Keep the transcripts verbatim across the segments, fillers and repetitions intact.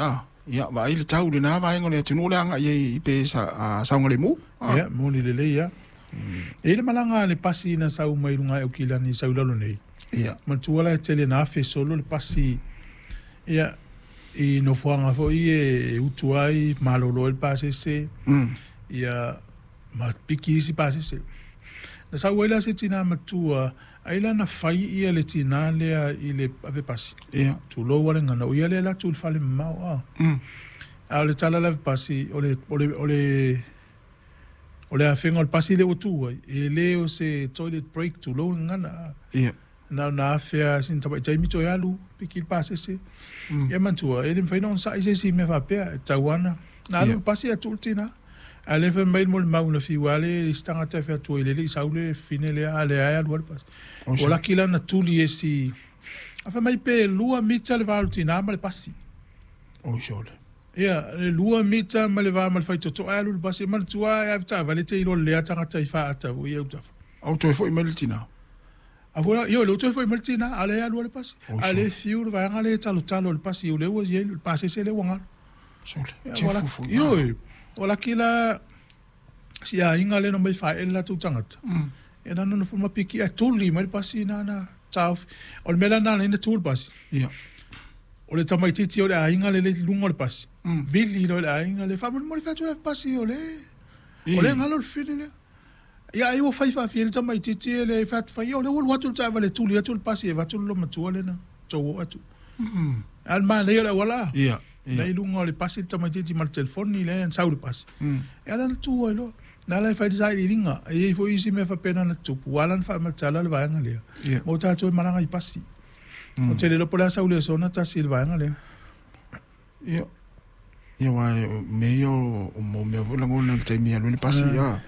Ah, ia vaai le tau lena vaega o le atunuu le agai ai pe sa saogalemu. Ia, moni lelei ia. E i le malaga a le pasi na sau mai luga e Aukilani sau i lalo nei. Ia. Manatua la e tele na afe solo le pasi ia i nofoaga foi e utu ai, malolo ai le pasese. Ia ma piki isi pasese. Na sau ai la se tinā matua, ai la na fai ia le tinā lea i le ave pasi. Ia. Tulou a le gagana, o ia lea e alu atu i le fale mamao a. A o le tala a le ave pasi, o le, o le, o le, o le afega o le pasi lea ua tu ai, e le o se toilet break tulou le gagana a. Ia. Na ona afe lava sina tamaitai toe alu, piki le pasese. Ia manatua, e le mafai ona onosai se isi mea faapea, e tatau lava ona na alu le pasi ae tuu le tina. A o lea e fai mai le molimau na fiu lava le isi tagata e fai atu ai, le i sau le fine lea, a o lea lava e alu lava le pasi. Ua laki la na tuli e si, a fai mai pe lua mita le va o le tina ma le pasi. Oi sole. Ia, e lua mita ma le va ma le faitotoa ae alu le pasi. E manatua e ave taavale te iloa lelei lava tagata i faata foi ia autafa. A ua toe foi mai le tina? A foi la, ioe, lea ua toe foi mai le tina, a o lea e alu lava le pasi. A o lea e fiu le vaega lea e talotalo i le pasi, o lea ua i ai le pasese lea ua galo. Sole, Ia, tia ua laki, fufu. ioe, ua laki la si aiga lea na omai faaee le latou tagata. Ia na nonofo ma piki ae tuli mai le pasi na na taofi. O le mea la lena na ala ai ona tu le pasi. Ia. O le tamaitiiti o le aiga lea i luga o le pasi, vili loa i le aiga lea, faamolemole fai atu le pasi o le o lea e galo le fili lea. Ia ai ua fai faafia le tamaitiiti e le fai atu fai, o lea ua alu atu le taavale e tuli atu le pasi e avatu le loomatua lea na tou oo atu. A o le manaia o le auala, Ia, ia. la i luga o le pasi le tamaitiiti ma le telefoni lea na sau le pasi. Ia la na tu ai loa. Na ala e fai le sailiiliga, e i ai foi isi mea faapena na tutupu, ua ala ona faamatala le vaega lea, Ia. mo tatou e malaga i pasi. Ou te le iloa po o le a sau le aso tasi i le vaega lea. Ia. Ia aua o mea ia o o mea foi lagona i le taimi e alu ai le pasi, ia.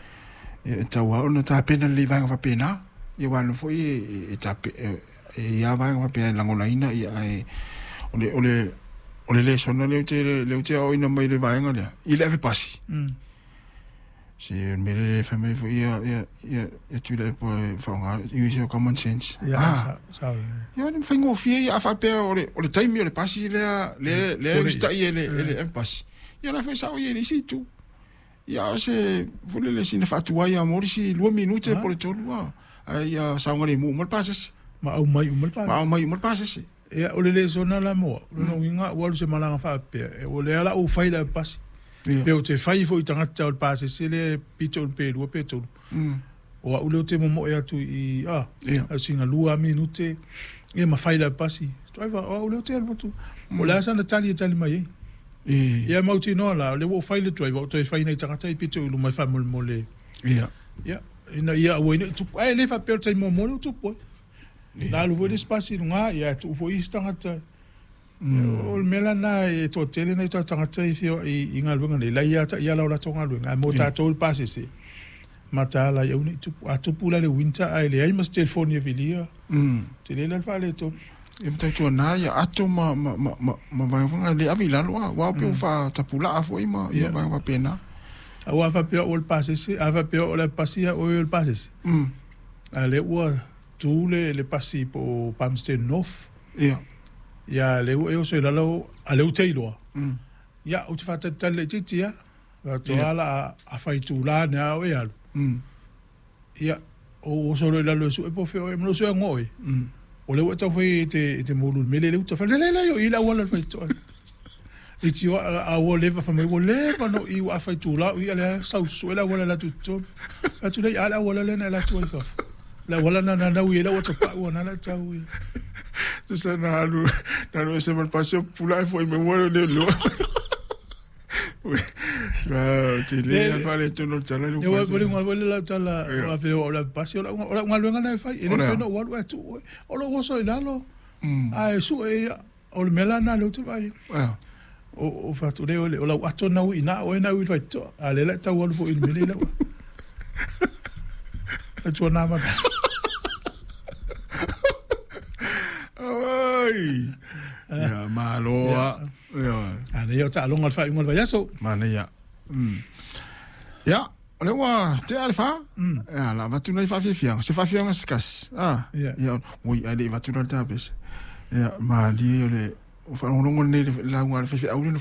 Ia e tatau lava ona tapena lelei i vaega faapena. Ia aua o lea foi e e tape e i ai lava vaega faapea e lagonaina ia ae o le o le o le lesona lea ou te lea ou te aoaoina mai i le vaega lea i le ave pasi. Se o le mea lea e fai mai foi ia ia ia ia Tuilaepa e faaaoga use your common sense. Ia, Ah. sa sa lelei. Ia e faigofie ia a faapea o le o le taimi o le pasi lea lea lea e usitai e le e le ave pasi. Ia o la foi e sao i ai i le isi itu. Ia a o se foi lele sina faatuai lava mo le isi lua minute po o le tolu lava. Ae ia saogalemu uma le pasese. Ma aumai uma le pasese. Ma aumai uma le pasese. Ia, o le lesona la mo au, o lona uiga ua alu se malaga faapea, o lea la ua fai le ave pasi. Ia. Pe ou te fai foi i tagata o le pasese lea e pito i pe lua pe tolu. O au lea ou te momoe atu i a, Ia. sina lua minute, ia ma fai le ave pasi. Driver, o au lea ou te alu atu. O le a sana tali e tali mai ai. E. Ia mautinoa la, o lea ua ou fai le driver, ou toe fai nai tagata i pito i luma e faamolemole. Ia. Ia, ina ia aua ai ne i tupu. Ae le faapea o le taimi muamua lea ua tupu ai. Na alu foi le isi pasi i luga, ia e tuu foi isi tagata. O le mea la lena e toatele nai o tatou tagata e feoai i galuega nei, la ia taiala o latou galuega, ae mo tatou le pasese, mataala ai aua ne i tupu. A tupu la i le winter ae leai ma se telefoni e vilia, tele la le faaletonu. Ia ma tautuana ia ato ma ma ma ma ma vaega foi na e le ave i lalo a, aua pei ua faatapulaa foi ma ia vaega faapena. Aua a faapea o le pasese, a faapea o le pasi ia oe o le pasese. A o lea ua tu le le pasi po o Palmerston North. Ia. Ia lea ua e oso i lalo, a lea ou te iloa. Ia, ou te faatalitali laitiiti lava. Faatoa la a, a fai itula ane lava oe e alu. Ia, ou oso loa i lalo e sue po o fea oe, ma lou sue atu oe. O lea ua e taufai e te, e te moulu i le mea lea i le uta. Fai, le, le, le, o i le auala o le faitotoa. I tio, a, a ua leva, fai mai, ua leva no i ua a fai itula o i, a lea sau sue le auala e alu atu i totonu. Fai atu lea, a le auala lea na e alu atu ai i fafo. Le auala na na nau i ai lau atopau, na la tau i. Tusa na alu na alu ese ma le pasi o pupula ae foi mai ua le leo. Te le le faaletonu o le tala le Ia ua ua le ua le lau tala o la feo o la pasi o la o la galuega na e fai e le mafai ona ou alu ae tuu oe. O lou oso i lalo ae sue ia o le mea la lena lea ou te vaai ai. O o fatu le o lau ato na ui ina oe na ui i le faitotoa a o lea la e tau alu foi i le mea lea i lau atua na mata. Ai. Ia, malo a. Ia. A lea o taaloga o le faaiuga o le vaiaso. Manaia. Mm. Ia, o lea ua tea le fa. Ia, la avatu nai faafiafiaga. Se faafiafiaga se tasi. Ah. Ia. Ia, oi, ae le i avatu la le tapese. Ia, malie o le o faalogologo lenei i le lauga a le faifeau lea na